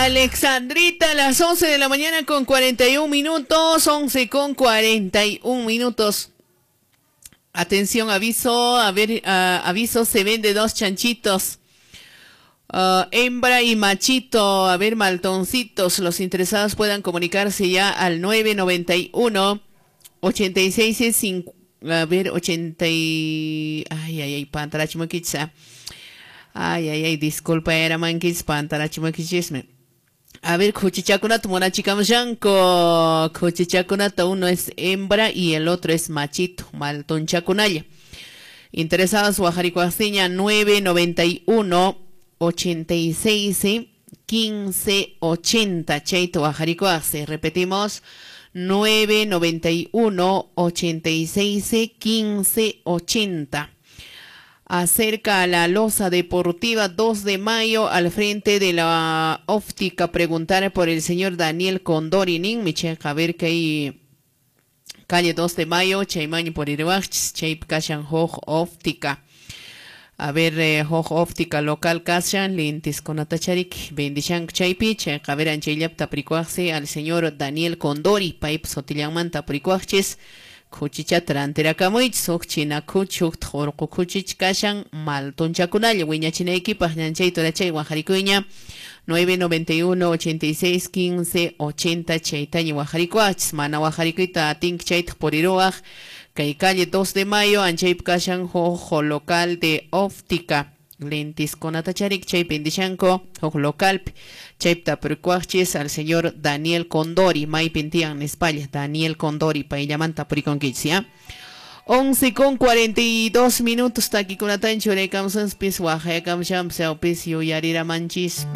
Alexandrita, las 11 de la mañana con 41 minutos, 11 con 41 minutos. Atención, aviso, a ver, aviso, se vende 2 chanchitos. Hembra y machito, a ver, maltoncitos, los interesados puedan comunicarse ya al 991 86 5, a ver, 80 y, ay, ay, ay, pantarachimukicha. Ay, ay, ay, disculpa, era manquis, pantarachimuquichisme. A ver, khuchichakunata munachikamushanku. Khuchichakunata uno es hembra y el otro es machito, maltonchakunalla. Interesados, Guajarikuaseña 991 86 15 80. Chaito Guajarikuase. Repetimos, 991 86 15 80. Acerca a la Loza Deportiva 2 de mayo al frente de la óptica, preguntar por el señor Daniel Condorinin, Micheca, a ver que hay calle 2 de mayo, Chaymaño por Irwach, Chayp Kashan Hoj Óptica. A ver, Hoj Óptica local Kashan, lentes con atacharik, bendichan Chaypi, Chayka, a ver, Anchaylap tapricuaxe al señor Daniel Condori, Paip Sotillamanta tapricuaches. Khuchicha rantirakamuych huk china khuch huk orqu khuchich kashan maltonchakunalla wiñachinaykipaq ñanchay turachay wajarikuyña 991 86 15 80 chaytaña wajarikuachis mana wajarikuyta atinki chaytaq puriruwaq kay calle 2 de mayo anchaypi kashan huk local de óptica lentis konatacharik chay pendishanko huk localpi chaypi tapurikuaqchis al señor Daniel Condori maypin tiyan nispalla Daniel Condori payllamanta tapurikunkichis ya 11:42 minutos takikunatan churaykamusanpis waqayakamushanpis yuyariramanchis.